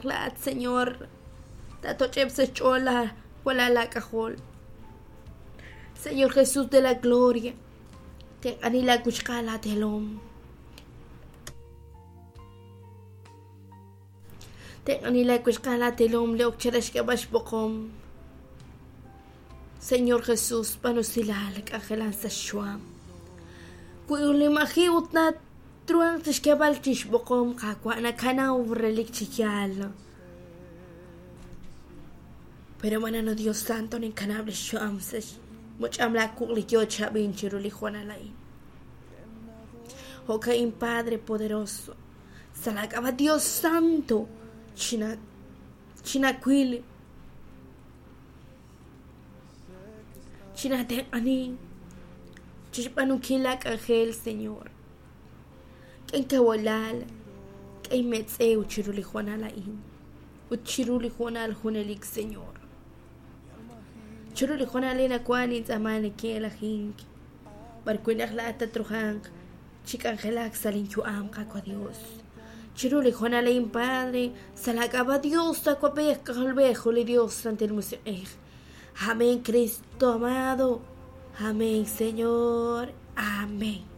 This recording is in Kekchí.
naq laa'at, Señor, taatoch'eb' sa' xch'ool laa walal aak'ajol. Señor Jesús de la gloria, tenq'ani laa wixqa'al aateelom. Tenq'ani laa wixqa'al aateelom li ok chara xk'eb'al xb'oqom. Señor Jesús, b'aanu usilal, k'anjelan sa' xxuam. Wi li maji' ut natruhanq chixk'eeb'al chixb'oqom, Qaawa', nakanaw relik chi yaal. Pero hermano Dios Santo, ninkanab' li xyu'am sa' xmuch'am laa wuq' li yoo chi ab'ink chiru li hoonal a'in. Jo'ka'in, Padre poderoso, sa' laa k'ab'a' Dios Santo, china chinawil, chinatenq'ani chixb'aanunkil laa k'anjel, Señor. K'e inkawilal, k'e inmetz'ew chiru li hoonal a'in ut chiru li hoonal junelik, Señor. Chiru li hoonal a'in nawan nintz'aama neke'elajink, b'ar wi' naq laa'at tatruhanq chi k'anjelak sa' lin yu'am, Qaawa' Dios. Chiru li hoonal a'in, Padre, sa' laa k'ab'a' Dios, Awab'ej, K'ajolb'ej, ut li Dios Santil Musiq'ej. Amén, Cristo amado. Amén, Señor. Amén.